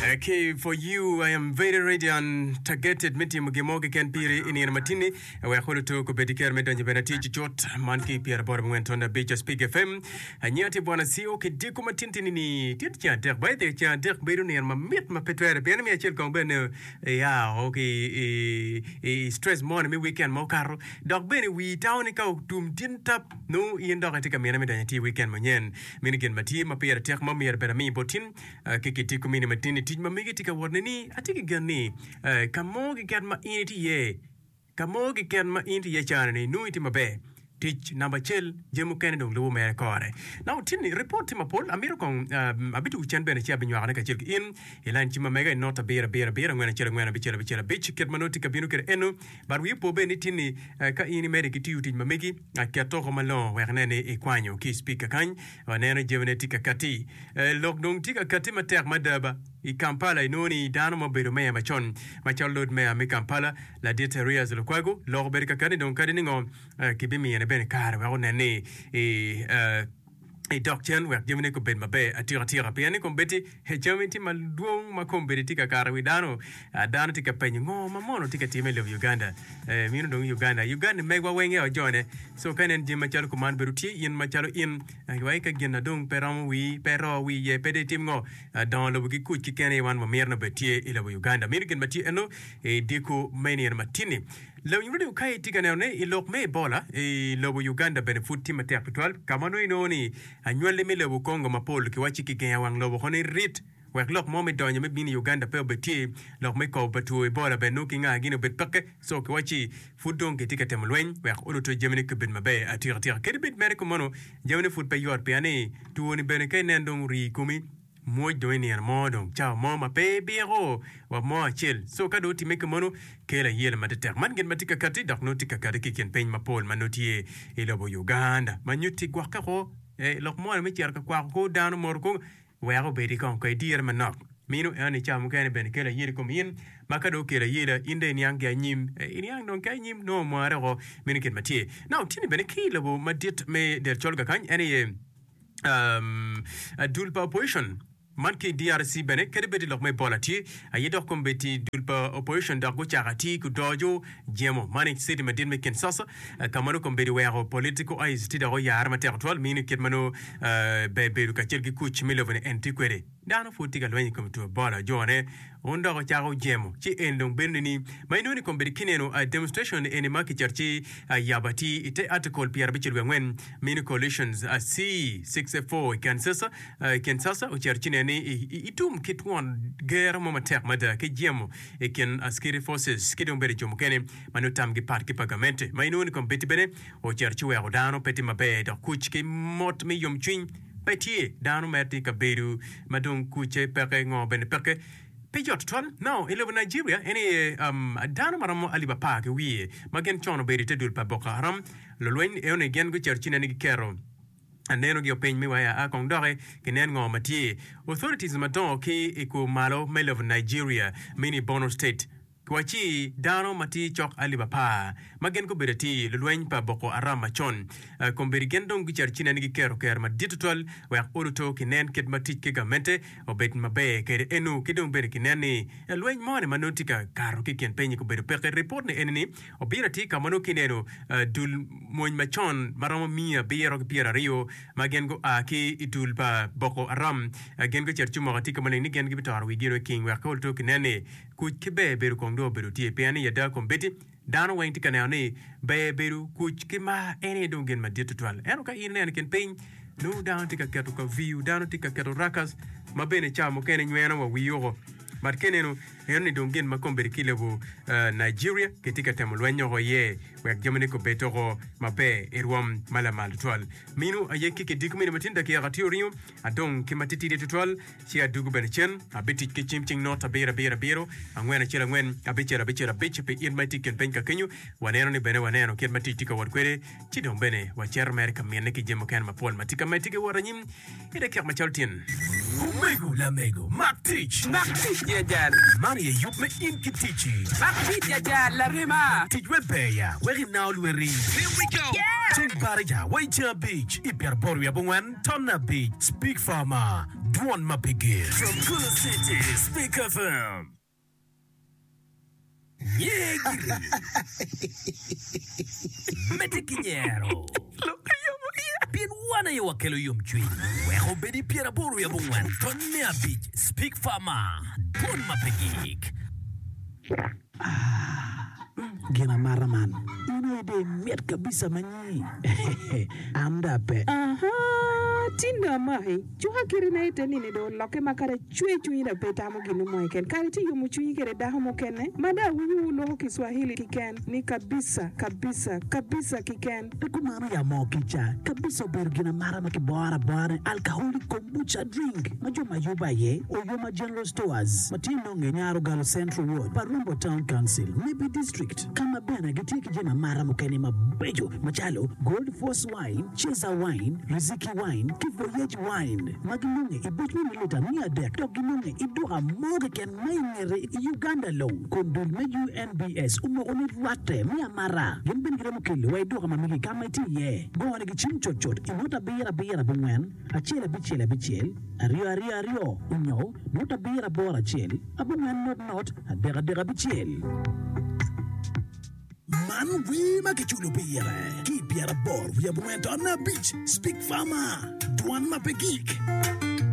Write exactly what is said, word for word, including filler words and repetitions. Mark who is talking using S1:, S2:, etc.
S1: Okay, for you, I am very ready and targeted me timo gin mo keken piri i nino matini wek oluto kobedi ker me donyo bene atic cut man ki pyera aboro abongwen ton abic Speak F M. Anyira tye bwana C O ki diko matin tini ni tye ceng adek. By the way, ceng adek bedo nino mamit ma pe twere pien mi acel kong bene ya o ki i, i stress moni me weekend ma okato dok bene wi tao ni ka otum tin tap nongo in dok itye ka mine me donyo atir weekend manyen. Meno gin ma tye ma pire tek ma myero bene ami bot tin ki kitiko mini matin i tic ma megi tye ka wot ni atye ki gen ni ka mo keken ma in itye iye, ka mo keken ma in itye iye cani ni nongo itye maber. Tic namba acel, jami mukene dong lubo mere kore. Now tin ni report tye mapol, amito kong abitugo cen bene ci abinywakone kacel ki in i line cim ma mega i not abiro abiro abiro angwen acel angwen abicel abicel abic kit ma nongo tye ka bino kwede eno. But wi opo bene ni tin ni ka in imede ki tiyo tic ma megi, ket oko malongo wek inen ni ikwanyo ki i speaker kany. Waneno jamine tye ka katti. Lok dong tye ka katti matek mada ba. I Kampala inongo ni dano ma obedo meya macon macalo Lord Mayor me Kampala, Ladit Erias Lukwago, lok obedo ka katti dong kadi ningo kibimine bene kare wek onen ni idok cen wek jamine gubed maber atika tika. Pien ni kombeddi jami tye madwong ma kombeddi tye ka kato i wi dano. Dano tye ka penyo ngo ma mono tye ka timme i lobo Uganda. Mino dong Uganda. Uganda megwa weng aye ojone. So ka inen jami macalo kuman bedo tye in macalo in wai ka gin na dong pe romo wii, pe roo wii iye, pe dong itim ngo, dongo lobo ki kuc keken aye wan wamito ni obed tye i lobo Uganda. Mino gin ma tye eno i dyeko me nino matin-ni. Lawiny radio ka itye ka neno ne i lok me Ebola i lobo Uganda bene pud tye matek tutwal ka ma nongo inongo ni anywalli me lobo Congo mapol kiwacci kigengo wang lobo kono irit wek lok mo me donyo me bino i Uganda pe obed tye. Lok me kobo pa two Ebola bene nongo ki nga gini obed peke so kiwacci pud dong kitye ka temo lweny wek oluto jamine kubed maber atika tika. Kadi bed mere kumeno jamine pud pe yot pien ni two ni bene ka inen dong orii i komi mwoc dong i nino mo dong cawa mo ma pe ibiko wa mo acel. So ka dong otimme kumeno kelo ayela matetek. Man gin ma tye ka kati dok nongo tye ka kati ki i kin piny mapol ma nongo tye i lobo Uganda ma nyutti gwokke ko lok moni me cito ka kwako kor dano moto kong Wek obed kong ka idire manok. Mino eno ni cawa mukene bene kelo ayela i kom in, ma ka dong okelo ayela, in dong iniang ki anyim. Iniang dong ki anyim nongo omare woko. Meno kit ma tye. Now, tye ni bene ki i lobo madit me del col kakany, en aye um, dul pa opposition man ki i D R C bene, kadi bed i lok me Ebola tye aye dok kombeddi dul pa opposition dok gucako atir ki odoco jemo man i city madit me Kinshasa ka ma nongo kombeddi weko political eyes tye dok oyare matek tutwal mini kit ma nongo ber bedo kacel ki kuc me lobo ni en tye kwede. Dano pud tye ka lweny i kom two Ebola jone wun dok ocako jemo ci en dong bedo nining ma inongo ni kombeddi kineno demonstration eni ma kicato ci yabo atir i te article pyerabicel wiye angwen mini coalitions C sixty-four i Kinshasa Kinshasa ocito ci neno ni itum ki twon gero mo matek mada ki jemo i kin security forces ki dong bedo jo mukene ma nongo tamgi pat ki pa gamente ma inongo ni kombeddi bene ocito ci weko dano pe tye maber dok kuc ki mot me yomcwiny pe tye. Dano mere tye i kabedo ma dong kucce peke ngo bene peke pe yot tutwal. Now i lobo Nigeria en aye um, dano ma romo alip apar ki wiye ma gin con obedo i te dul pa Boko Haram lulweny enoni gin gucito ci neno ni giketo anenogi o piny me waya a kong doki kinen ngo ma tye. Authorities madongo ki i kur malo me lobo Nigeria mini Borno State Wacci dano ma tye cok alip apar ma gin gubedo atir lulweny pa Boko Haram macon kombeddi gin dong gucito ci nen giketo kero madit tutwal wek oluto kinen kit ma tic ki gamente obed maber kede enu ki dong bene kinen ni lweny moni ma nongo tye ka kato ki kin piny-nyi gubedo peke. Ripot ni eni ni obino atir ka ma nongo kineno dul mony macon ma romo miya abiro ki pyeraryo ma gin gua ki i dul pa Boko Haram gin gucito ci omoko atika maleng ni gin gibitoro wigi i king wek oluto kinen ni Kuc ki ber bedo kong dong obedo tye, pien i ada kombeddi dano weng tye ka neno ni ber bedo kuc ki mar en aye dong gin madit tutwal. Ento ka in ineno i kin piny, nongo dano tye ka keto kaviu, dano tye ka keto rakas ma bene cawa mukene nyweno wa wii woko. But ka ineno, eno ni dong gin ma kombeddi ki i lobo Nigeria kitye ka temo lweny woko iye wek jamine gubed woko maber i rwom ma lamal tutwal. Mino aye ki kidiko mene matin dakika tye oringo adong ki matitidi tutwal. Ci adwogo bene cen, abitic ki cim cing not abiro abiro abiro, angwen acel angwen, abicel abicel abic pi in ma itye i kin piny ka kenyo. Waneno ni bene waneno kit ma tic tye ka wot kwede, ci dong bene wacito mere ka mine ki jami mukene mapol ma tye ka medde ki wot anyim i dakika macalo tyen.
S2: Omego lamego, mak tic!
S3: Mak tic ya jal!
S2: Man aye yub me in ki ticci.
S3: Mak tic ya jal, larema!
S2: Tic we ber ya, Wek inao lweti. Here we go! Ceng baraja wa i ceng abic i pyeraboro wiye abongwen tonne abic. Speak Farmer, dwon ma pe gik. From Gulu City, Speak F M. Nye giri. Medde ki nyero. Pien wan aye wakelo yomcwiny. Wek obed i pyeraboro wiye abongwen tonne abic. Speak Farmer, dwon ma pe gik.
S3: Gin amata man in aye dong imit kabisa ma nyi an dong ape.
S4: Ahaa, tin dong amaki. Cuka kiti na ite nini dong olokke ma kadi acwe cwinyi dong pe itamo gin mo keken. Kadi itye yomo cwinyi kede dako mukene ma dong awinyo wu loko Kiswahili kiken ni kabisa, kabisa, kabisa kiken.
S3: Pe kumano ya moo kica kabisa obedo gin amata ma kiboro abora ni alcoholic kombucha drink ma jo ma yubo aye Oyoma General Stores ma tye nonge i Nyarogalo Central Ward pa Rombo Town Council, Nebbi District ka ma bene gitye ki jami amata mukene mabeco macalo Gold Force Wine, Cesar Wine, Riziki Wine ki Voyage Wine ma ginonge i buc me mililita miya adek dok ginonge i duka mo keken ma i ngete i Uganda long kun dul me U N B S omoko ni rwatte me amata. Gin bene giromo kelo wa i duka ma megi ka ma itye iye. Gonigi cim cutcut i not abiro abiro abongwen acel abicel abicel aryo aryo aryo onyo not abiro aboro acel abongwen not not adek adek abicel. Man wer ma kiculo pire ki i pyeraboro wiye abongwen tonne abic Speak Farmer, dwan ma pe gik.